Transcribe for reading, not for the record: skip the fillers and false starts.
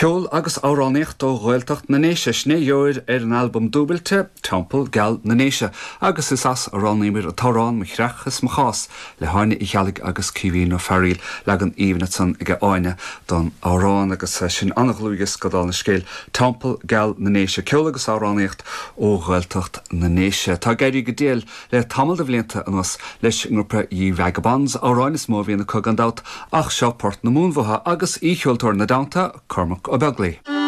Ceol agus amhránaíocht ó Ghaeltacht na nDéise, sin é a gheobhair ar an albam dúbailte, Teampall Geal na nDéise, agus is as a roghnaíomar an t-amhrán Mo Chreach is Mo Chás le hÁine Uí Cheallaigh agus Caoimhín Ó Fearaíl, leagan aoibhinn ansan aige Áine don amhrán agus sin an-dhlúthdhiosca dála an scéil, Teampall Geal na nDéise, ceol agus amhránaíocht ó Ghaeltacht na nDéise. Tá ag éirí go diail le tamall de bhlianta anuas leis an ngrúpa Ye Vagabonds, amhráin is mó a bhíonn acu gan dabht ach seo Port na Mumhan uathu agus aoicheoltóir ina dteannta, Cormac Ó Beaglaoi.